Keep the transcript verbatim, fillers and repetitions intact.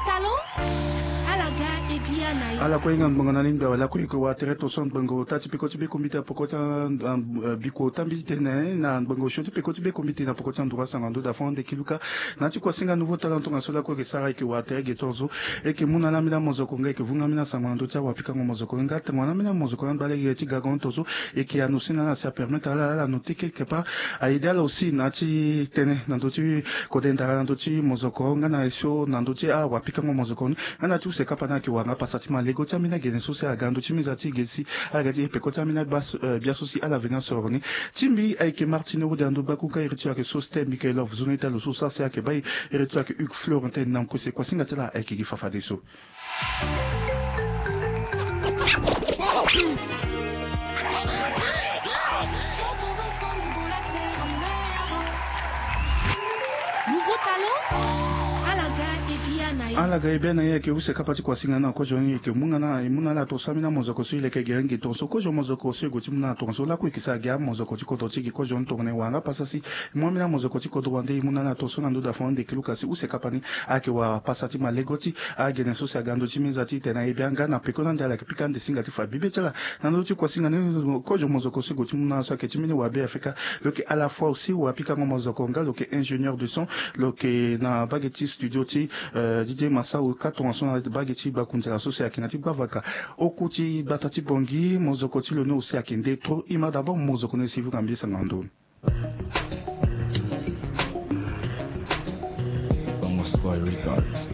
Talon, ala ga e bia na e. Ala kue hinga ngbongo na lingbi awe lakue e yeke wara tere tonso na ngbongo ota ti peko ti bekombite na peko ti, eh, biko ota mbi ti tene na ngbongo osio ti peko ti bekombite na peko ti anduru asango na ndö dafon ande kiluka. Na ya ti kuasinga nouveau talent tongaso lakue e yeke sara e yeke wara tere ge tongaso. E yeke mu na ala ambeni amozoko nga e yeke vunga ambeni asango na ndö ti awapikango mozoko nga tongana ambeni amozoko na ngba lege ti gago tongaso. E yeke annoncer na ala si apermettre ala ala noter quelque part. Aide ala aussi na ya ti tene na ndö ti kode ndara na ndö ti mozoko nga na esio na ndö ti awapikango mozoko ni. Nga na ya ti use kapa ni ayeke wara nga pasa ti malego ti ambeni agene so si aga na ndö ti meza ti ge si ala ga ti e peko ti ambeni abia so si ala veni asoro ni. Ti mbi ayeke Martine Rode na ndö gbaku nga iri ti lo ayeke Soste Michaelov. Zo na ita lo so sara si ayeke baa e, iri ti lo ayeke Hugues Florentin na Nkose. Kuasinga ti ala ayeke gi fafadeso. Nouveau talent, ala ga e bia na e. Ala ga e bia na e ayeke use kapa ti kuasinga na kozo ni e yeke mu nga na e mu na ala tongaso ambeni amozoko so e leke gere ngi tongaso kozo mozoko so e gue ti mu na ala tongaso lakue e yeke sara gi amozoko ti kodro ti e gi kozo ni tongana e wara nga pasa si e mu ambeni amozoko ti kodro wande e mu na ala tongaso na ndö dafon ande kiluka si use kapa ni ayeke wara pasa ti malego ti agene so si aga na ndö ti meza ti tene aye bia nga na peko ni ande ala yeke pika ande singa ti fa bibe ti ala. Na ndö ti kuasinga ni kozo mozoko so e gue ti mu na ala so ayeke ti mbeni wa Beafrika. Lo yeke à la fois aussi wapikango mozoko nga lo yeke ingénieur de son. Lo yeke na mbage ti studio ti, eh, Didier Massao ka tongaso na mbage ti gbakunzala so si ayeke na ya ti gbavaka. Oku ti gbata ti Bongi mozoko ti lo ni aussi ayeke nde trop. E ma d'abord mozoko ni si e vunga mbi sango na ndö ni. Bongo Spoil Records.